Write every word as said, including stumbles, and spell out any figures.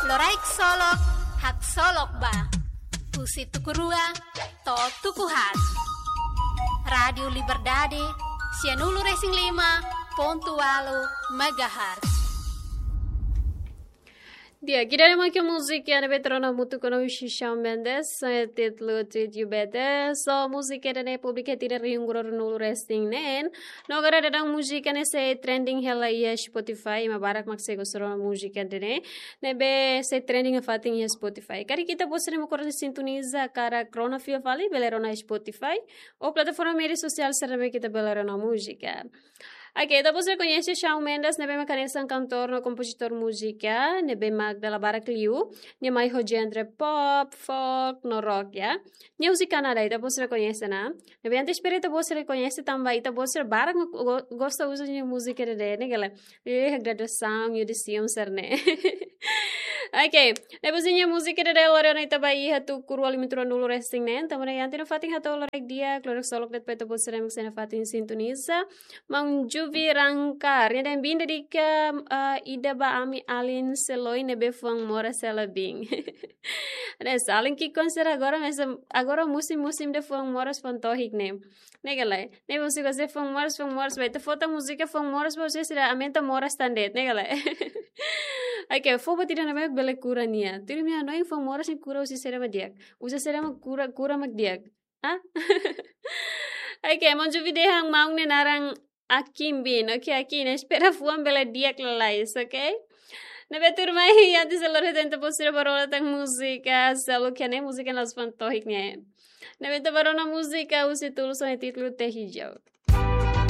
Loraik Solok, haksolok ba. Husi tuku rua to'o tuku haat. Rádiu Liberdade, sianulu-resin-lima pontu ualu megahertz. Di'ak, ida-ne'e mak múzika ne'ebé tuur ona hamutuk ho Shawn Mendes, eh, títulu Treat You Better. So, múzika ida-ne'e publika iha tinan rihun rua ruanulu-resin-neen. No agora daudaun múzika ne'e sei trending hela iha Spotify, ema barak mak sei gosta ona múzika ida-ne'e. Ne'ebé sei trending nafatin iha Spotify. Karik ita-boot sira mak koro sintoniza karik rona fiar fali, bele rona Spotify. Ou plataforma média sosiál sira ne'ebé ita bele rona múzika. Oke, ita-boot sira koñese Shawn Mendes, ne'ebé mak hanesan kantór no kompozitór múzika, ne'ebé mak dala barak liu, nia mai ho genre pop, folk, no rock, ya. Nia husi Kanadá, ita-boot sira koñese ona. Ne'ebé antes para ita-boot sira koñese tanba ita-boot sira barak go-, gosta uza nia múzika ida-ne'e, ne'e ka lae. Eh, graduasaun, audisaun sira-ne'e. Oke, depois nia múzika ida-ne'e lori ona ita ba iha tuku rua lima ruanulu-resin-neen. Tanba ne'e, iha tinan nafatin hato'o loraik di'ak, loraik solok de'it ba ita-boot sira mak sei nafatin sintoniza. Maun Juvi Rankar, nia dehan bin dedika, ah, ida ba ami alin seloi ne'ebé fuan moras hela biin. Ne'e, alin ki'ikoan sira agora, mas agora musim-musim de fuan moras, fuan tohik ne'e. Ne'e ka lae. Ne'e múzika sei fuan moras, fuan moras, ba ita fó tan múzika fuan moras, ba sira aumenta moras tan de'it, ne'e ka lae. Oke, fó buat ida ne'ebé bele kura nia. Tuir imi hanoin fuan moras nia kura husi saida mak di'ak. Husi saida mak kura, kura mak di'ak. Ah? Oke, maun Juvi dehan maun nia naran Akin biin. Oke, Akin, espera fuan bele di'ak lalais, oke? Ne'ebé tuirmai, antes de lori ita-boot sira ba rona tan múzika, selalu ke ne'e múzika ne'e la'ós fuan tohik ne'e. Ne'ebé ita ba rona múzika husi Tulus ho nia títulu Teh Hijau.